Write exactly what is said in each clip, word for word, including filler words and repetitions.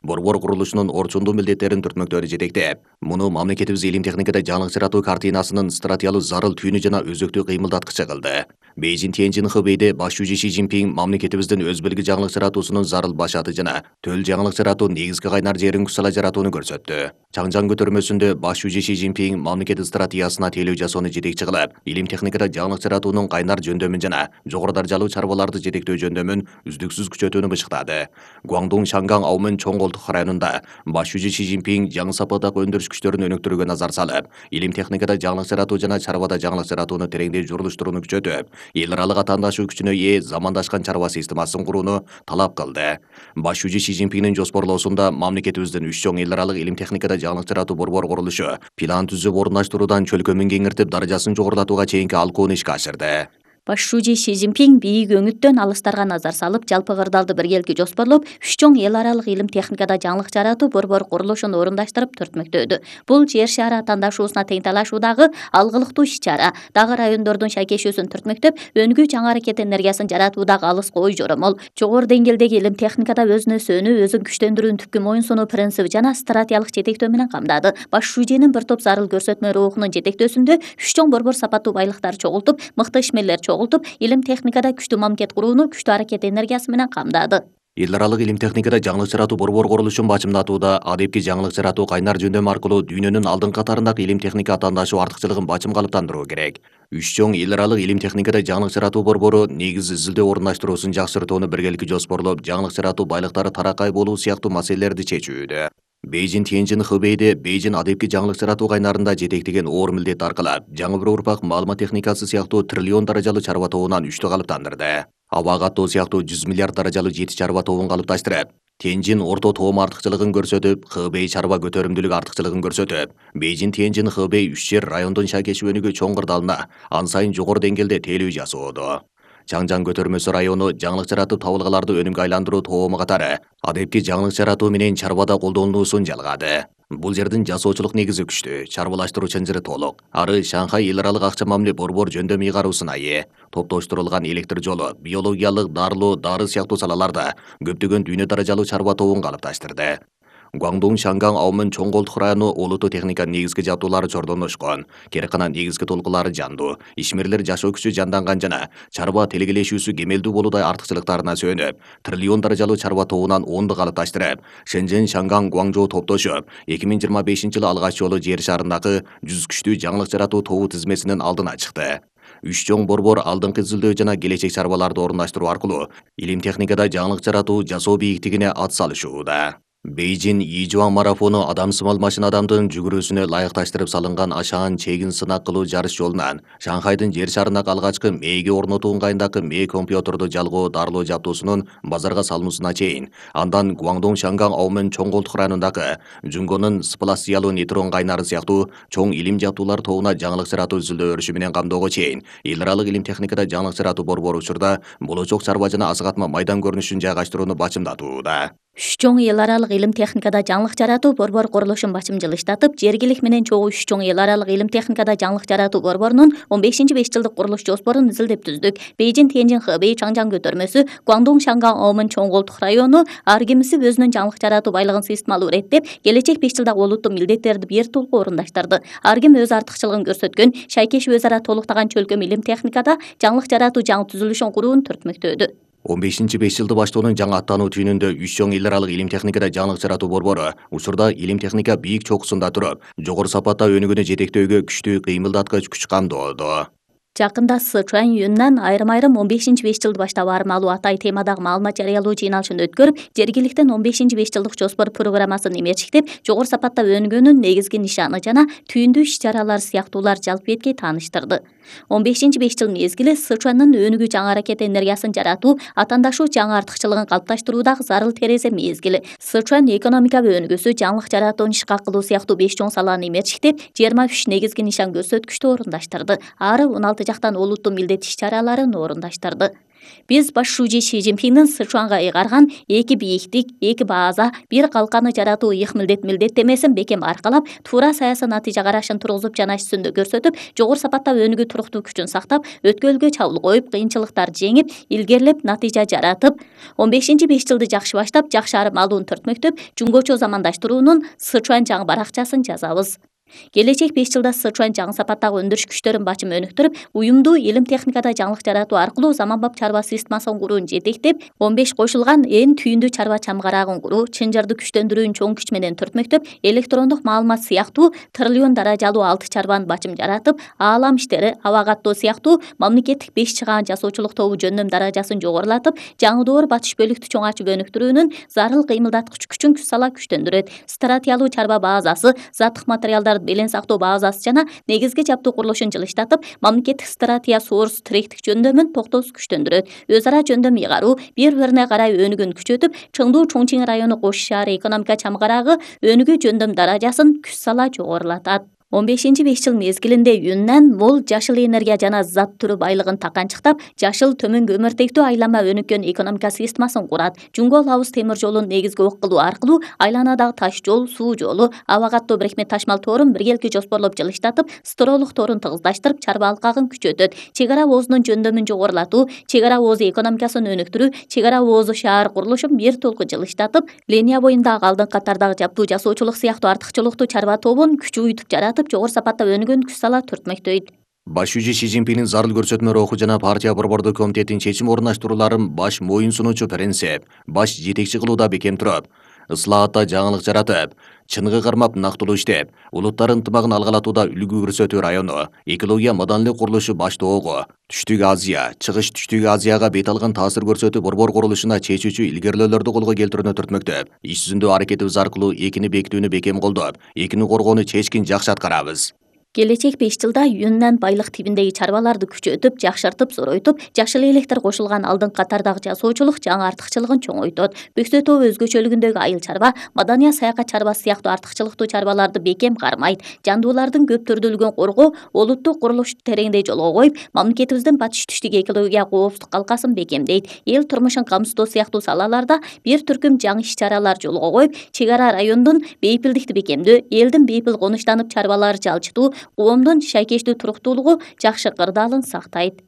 борбор курулушунун орчундуу милдеттерин түртмөктөөнү жетектеп, муну мамлекетибиз илим техникада жаңылык жаратуу картинасынын стратегиялык зарыл түйүнү жана өзөктүү кыймылдаткычы кылды. Бейжин Тяньжин Хэбэйде баш жүзү Си Цзиньпин мамлекетибиздин өз белги жаңылык жаратуусунун зарыл башаты жана төл жаңылык жаратуу негизги кайнар жерин кусала жаратууну көрсөттү. Чаңжаң көтөрмөсүндө баш жүзү Си Цзиньпин мамлекет стратегиясына тейлөө жасоону жетекчи кылып, илим техникада жаңылык жаратуунун кайнар жөндөмүн жана жогору даражалуу чарбаларды жетектөө жөндөмүн үздүксүз күчөтүүнү бышыктады. Гуандун Шанган Аумын чоң колтук районунда баш жүзү Си Цзиньпин жаңы сапаттагы өндүрүш күчтөрүн өнүктүрүүгө назар салып, илим техникада жаңылык жаратуу жана чарбада жаңылык жаратууну тереңдей журулуштурууну күчөтүп, эл аралык атаандашуу күчүнө ээ замандашкан чарба системасын курууну талап кылды. Баш жүзү Си Цзиньпиндин жоспорлоосунда мамлекетибиздин үч чоң эл аралык илим техникада жаңылык жаратуу борбор курулушу план түзүп орундаштыруудан чөлкөмүн кеңиртип даражасын жогорулатууга чейинки алкууну ишке ашырды. Баш жүзү Си Цзиньпин бийик өңүттөн алыстарга назар салып, жалпы кырдаалды биргеликке жоспорлоп, үч чоң эл аралык илим техникада жаңылык жаратуу борбор курулушун орундаштырып түртмөктөөдү. Бул жер шары атаандашуусуна тең талашуудагы алгылыктуу иш-чара. Дагы райондордун шайкешүүсүн түртмөктөп, өнүгүү чаң аракет энергиясын жаратуудагы алыс ой жоромол. Жогору деңгээлдеги илим техникада өзүнө сөнүү, өзүн күчтөндүрүүнү түпкү моюнсунуу принциби жана стратегиялык жетектөө менен камдады. Баш жүзүнүн бир топ зарыл көрсөтмө рухунун жетектөөсүндө үч чоң борбор сапаттуу байлыктарды чогултуп, мыкты ишмерлер чогултуп, илим техникада күчтүү мамлекет курууну күчтүү аракет энергиясы менен камдады. Эл аралык илим техникада жаңылык жаратуу борбор курулушун бачымдатууда адепки жаңылык жаратуу кайнар жөндөмү аркылуу дүйнөнүн алдыңкы катарындагы илим техника атаандашуу артыкчылыгын бачым калыптандыруу керек. Үч чоң эл аралык илим техникада жаңылык жаратуу борбору негиз изилдөө орундаштыруусун жакшыртууну биргеликке жоспорлоп, жаңылык жаратуу байлыктары таракай болуу сыяктуу маселелерди чечүүдө. Бейжин Тяньжин Хэбэйде Бейжин адепки жаңылык жаратуу кайнарында жетектеген оор милдет аркылап, жаңы бир урпак маалымат техникасы сыяктуу триллион даражалуу чарба тобунан үчтү калыптандырды. Аба каттоо сыяктуу жүз миллиард даражалуу жети чарба тобун калыпташтырып, Тяньжин орто тоом артыкчылыгын көрсөтүп, Хэбэй чарба көтөрүмдүүлүк артыкчылыгын көрсөтүп, Бейжин Тяньжин Хэбэй үч жер райондун шайкешүү өнүгүү чоң кырдаалына ан сайын жогору деңгээлде тейлөө жасоодо. Чаңжаң көтөрмөсү району жаңылык жаратып табылгаларды өнүмгө айландыруу тоому катары адепки жаңылык жаратуу менен чарбада колдонулуусун жалгады. Бул жердин жасоочулук негизи күчтүү, чарбалаштыруу чынжыры толук. Ары Шанхай эл аралык акча мамиле борбор жөндөмү ыйгаруусуна ээ. Топтоштурулган электр жолу, биологиялык, дарылоо, дары сыяктуу салаларда көптөгөн дүйнө даражалуу чарба тобун калыпташтырды. Гуандун Шанган Аумын чоң колтук району олуттуу техника негизги жабдуулары чордоношкон, керекана негизги толкулары жандуу, ишмерлер жашоо күчү жанданган жана чарба телегелешүүсү кемелдүү болуудай артыкчылыктарына сүйөнүп, триллион даражалуу чарба тобунан онду калыпташтырып, Шэньчжэн Шанган Гуаңжоу топтошуп, эки миң жыйырма бешинчи жылы алгач жолу жер шарындагы жүз күчтүү жаңылык жаратуу тобу тизмесинин алдына чыкты. Үч чоң борбор алдыңкы изилдөө жана келечек чарбаларды орундаштыруу аркылуу илим техникада жаңылык жаратуу жасоо бийиктигине ат салышууда. Бейжин Йижуан марафону адамсымал машина адамдын жүгүрүүсүнө ылайыкташтырып салынган ашаан чегин сынак кылуу жарыш жолунан Шанхайдын жер шарындагы алгачкы мээге орнотуу ыңгайындагы мээ компьютерду жалгоо дарылоо жабдуусунун базарга салынуусуна чейин, андан Гуандун Шанган Аумын чоң колтук районундагы Жунгонун спласиялуу нейтрон кайнары сыяктуу чоң илим жабдуулар тобуна жаңылык жаратуу изилдөө өрүшү менен камдоого чейин эл аралык илим техникада жаңылык жаратуу борбору учурда болочок чарба жана азыгатма майдан көрүнүшүн жайгаштырууну бачымдатууда. Үч чоң эл аралык илим техникада жаңылык жаратуу борбор курулушун бачымжылыштатып, жергилик менен чогуу үч чоң эл аралык илим техникада жаңылык жаратуу борборунун он бешинчи беш жылдык курулуш жоспорун изилдеп түздүк. Бейжин Тяньжин Хэбэй Чаңжаң көтөрмөсү, Гуандун Шанган Аумын чоң колтук району ар кимиси өзүнүн жаңылык жаратуу байлыгын системалуу иреттеп, келечек беш жылдагы олуттуу милдеттерди бир толук орундаштырды. Ар ким өз артыкчылыгын көрсөткөн, шайкешүү өз ара толуктаган чөлкөм илим техникада жаңылык жаратуу жаңы түзүлүшүн курууну түртмөктөөдү. он бешинчи беш жылды баштоонун жаңы аттануу түйүнүндө үч чоң эл аралык илим техникада жаңылык жаратуу борбору учурда илим техника бийик чокусунда туруп, жогору сапатта өнүгүүнү жетектөөгө күчтүү кыймылдаткыч күч камдоодо. Жакында Сычуань Юннан айрым-айрым он бешинчи беш жылды баштап армалуу атай темадагы маалымат жарыялоо жыйналышын өткөрүп, жергиликтен он бешинчи беш жылдык жоспор программасын эмерчиктеп, жогору сапатта өнүгүүнүн негизги нишаны жана түйүндүү иш-чаралар сыяктуулар жалпы бетке тааныштырды. он бешинчи беш жыл мезгили Сычуандын өнүгүү чаң аракет энергиясын жаратуу, атаандашуу жаңы артыкчылыгын калыпташтыруудагы зарыл терезе мезгили. Сычуань экономикабы өнүгүүсү, жаңылык жаратууну ишке кылуу сыяктуу беш чоң саланы эмерчиктеп, жыйырма үч негизги нишан көрсөткүчтү орундаштырды. Ары он алты жактан олуттуу милдет иш-чараларын орундаштырды. Биз баш шүүжи Си Цзиньпиндин Сычуанга ыйгарган эки бийиктик, эки бааза, бир калканы жаратуу ыйык милдет милдеттемесин бекем аркалап, туура саясий натыйжа карашын тургузуп жана иш жүзүндө көрсөтүп, жогору сапатта өнүгүү туруктуу күчүн сактап, өткөлгө чабуул коюп, кыйынчылыктарды жеңип, илгерилеп натыйжа жаратып, он бешинчи беш жылды жакшы баштап, жакшы армалуун төртмөктөп, жунгочо замандаштыруунун Сычуан жаңы баракчасын жазабыз. Келечек беш жылда Сычуан жаңы сапаттагы өндүрүш күчтөрүн бачым өнүктүрүп, уюмдуу илим техникада жаңылык жаратуу аркылуу заманбап чарба системасын куруун жетектеп, он беш кошулган эң түйүндүү чарба чамгарагын куруу, чынжарды күчтөндүрүүнү чоң күч менен төртмөктөп, электрондук маалымат сыяктуу триллион даражалуу алты чарбаны бачым жаратып, аалам иштери, аба каттоо сыяктуу мамлекеттик беш чыгаан жасоочулук тобу жөндөм даражасын жогорулатып, жаңы доор батыш бөлүктү чоң ачып өнүктүрүүнүн зарыл кыймылдаткыч күчүн күч сала күчтөндүрөт. Стратиялуу чарба баазасы, заттык материалдар белен сактоо баазасы жана негизги жаптуу курулушун жылыштатып, мамлекеттик стратия соорус тиректик жөндөмүн токтоосуз күчтөндүрөт. Өз ара жөндөм ыйгаруу, бири-бирине карай өнүгүүнү күчөтүп, Чыңдуу Чоңчиң району кош шаары экономика чамгарагы өнүгүү жөндөм даражасын күч сала жогорулатат. он бешинчи беш жыл мезгилинде Юннан мол жашыл энергия жана зат түрү байлыгын таканчыктап, жашыл төмөн көмүртектүү айланма өнүккөн экономика системасын курат. Жунго Лаус темир жолун негизги ок кылуу аркылуу айланадагы таш жол, суу жолу, аба каттоо бирикме ташмал тоорун биргелки жоспорлоп жылыштатып, стролук тоорун тыгыздаштырып, чарба алкагын күчөтөт. Чек ара оозунун жөндөмүн жогорулатуу, чек ара оозу экономикасын өнүктүрүү, чек ара оозу шаар курулушун бир толку жылыштатып, линия боюндагы алдыңкы катардагы жаптуу жасоочулук сыяктуу артыкчылыктуу чарба тобун күчү уютуп жаратып, жогору сапатта өнүгөн күч сала төртмөктөйт. Баш шүүжү Си Цзиньпиндин зарыл көрсөтмөлөр окуу жана партия борбордук комитетинин чечим орундаштырууларын баш моюн сунуучу принцип, баш жетекчи кылууда бекем туруп, ыслаатта жаңылык жаратып, чыныгы кармап нактылуу иштеп, улуттар ынтымагын алгалатууда үлгү көрсөтүү району, экология маданилик курулушу Баштоого, Түштүк Азия, Чыгыш Түштүк Азияга бет алган таасир көрсөтүү борбор курулушуна чечүүчү илгерилөөлөрдү колго келтирүүнү төртмөктөп, иш жүзүндө аракетибиз аркылуу экини бекитүүнү бекем колдоп, экини коргоону чечкин жакшы аткарабыз. Келечек беш жылда Юннан байлык тибиндеги чарбаларды күчөтүп, жакшыртып, зоройтуп, жашыл электр кошулган алдыңкы катардагы жасоочулук жаңы артыкчылыгын чоңойтот. Бөксөтөө өзгөчөлүгүндөгү айыл чарба, Мадания саякат чарбасы сыяктуу артыкчылыктуу чарбаларды бекем кармайт. Жандуулардын көп түрдүүлүгүн коргоо, олуттук курулушту тереңдей жолго коюп, мамлекетибиздин батыш түштүк экология коопсуздук калкасын бекемдейт. Эл турмушун камсыздоо сыяктуу салаларда бир түркүм жаңы иш-чаралар жолго коюп, чек ара райондун бейпилдикти бекемдөө, элдин бейпил конуштанып чарбалары жалчытуу, коомдун шайкештүү туруктуулугу жакшы кырдаалын сактайт.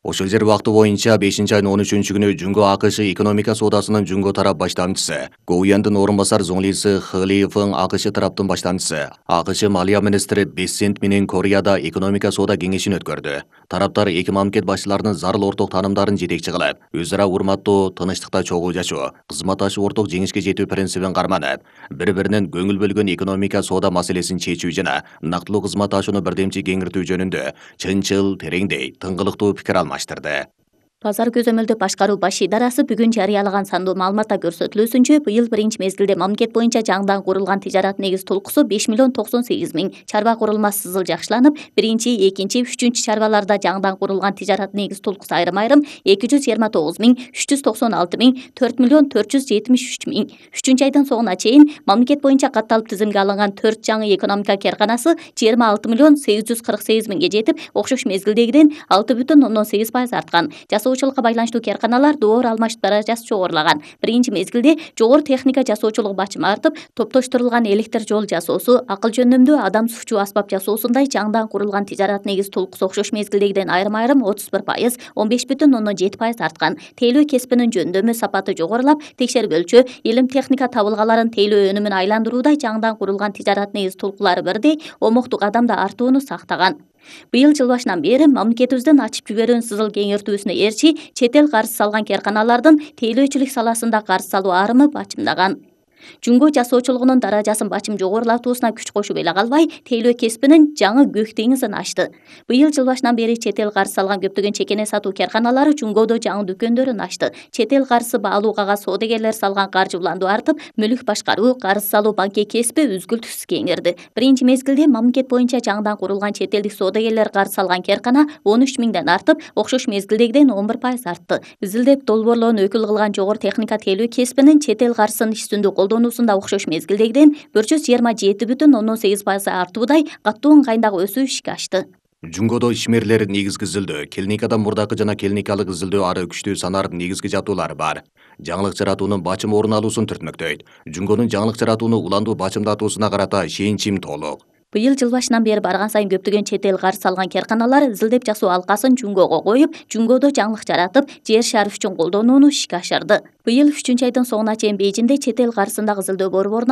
Ошол жер убакыты боюнча бешинчи айдын он үчүнчү күнү Жунго АКШ экономика соодасынын Жунго тарап баштамчысы, Гоуяндын орун басар зоңлиси Хылиевин АКШ тараптын баштамчысы, АКШ малия министри Бессент менен Кореяда экономика соода кеңешин өткөрдү. Тараптар эки мамлекет башчыларынын зарыл орток таанымдарын жетекчи кылып, өз ара урматтоо, тынычтыкта чогуу жашоо, кызматташып орток жеңишке жетүү принцибин карманып, бири-биринен көңүл бөлгөн экономика соода маселесин чечүү жана нактылуу кызматташууну бирдемчи кеңиртүү жөнүндө чынчыл, тереңдей, тыңгылыктуу пикир алмаштырды. Базар көзөмөлдү башкаруу баш идарасы бүгүн жарыялаган сандуу маалыматта көрсөтүлүүсүнчө, быйыл биринчи мезгилде мамлекет боюнча жаңыдан курулган тижарат негиз толкусу беш миллион токсон сегиз миң, чарба курулмасы сызыл жакшыланып, биринчи, экинчи, үчүнчү чарбаларда жаңыдан курулган тижарат негиз толкусу айрым-айрым эки жүз жыйырма тогуз миң, үч жүз токсон алты миң, төрт миллион төрт жүз жетимиш үч миң. үчүнчү айдын соңуна чейин мамлекет боюнча катталып тизимге алынган төрт жаңы экономика карканасы жыйырма алты миллион сегиз жүз кырк сегиз миңге жетип, окшош мезгилдегиден алты бүтүн ондон сегиз пайыз арткан. Жасоочулукка байланыштуу карканалар доор алмашып даражасы жогорулаган. Биринчи мезгилде жогору техника жасоочулук бачымы артып, топтоштурулган электр жол жасоосу, акыл жөндөмдүү адам сufчуу аспап жасоосундай жаңыдан курулган тижарат негиз толкусу окшош мезгилдегиден айрым-айрым отуз бир пайыз, он беш бүтүн ондон жети пайыз арткан. Тейлөө кесибинин жөндөмү, сапаты жогорулап, текшергөлчү, илим техника табылгаларын тейлөө өнүмүн айландыруудай жаңыдан курулган тижарат негиз толкулары бирдей омоктуу кадамда артууну сактаган. Быйыл жыл башынан бери мамлекетибиздин ачып жиберүүнүн сызыл кеңиртүүсүнө ээрчи, чет эл карыз салган карканалардын тейлөөчүлүк саласында карыз салуу арымы бачымдаган. Жунго жасоочулугунун даражасын бачым жогорулатуусуна күч кошуп эле калбай, тейлөө кесибинин жаңы көк деңизин ачты. Быйыл жыл башынан бери чет эл карыз салган көптөгөн чекене сатуу карканалары Жунгодо жаңы дүкөндөрүн ачты. Чет эл карызы баалууга соодагерлер салган каржы уланду артып, мүлүк башкаруу, карыз салуу банки кесиби үзгүлтүксүз кеңирди. Биринчи мезгилде мамлекет боюнча жаңыдан курулган чет элдик соодагерлер карыз салган каркана он үч миңден артып, окшош мезгилдегиден он бир пайыз артты. Изилдеп долбоорлоону өкүл кылган жогору техника тейлөө кесибинин чет эл карызын иш жүзүндө колдонуусунда окшош мезгилдегиден bir жүз жыйырма жети бүтүн ондон сегиз пайыз артуудай каттуу ыңгайдагы өсүү ишке ашты. Жунгодо ишмерлер негизги изилдөө, клиникадан мурдакы жана клиникалык изилдөө ары күчтүү санар негизги жатуулар бар. Жаңылык жаратуунун бачым орун алуусун түртмөктөйт. Жунгонун жаңылык жаратууну уландуу бачымдатуусуна карата ишеничим толук. Быйыл жыл башынан бери барган сайын көптөгөн чет эл карыз салган керканалар изилдеп жасоо алкасын Жунгого коюп, Жунгодо жаңылык жаратып, жер шары үчүн колдонууну ишке ашырды. Быйыл үчүнчү айдын соңуна чейин Бейжиңде чет эл карызындагы изилдөө борборунан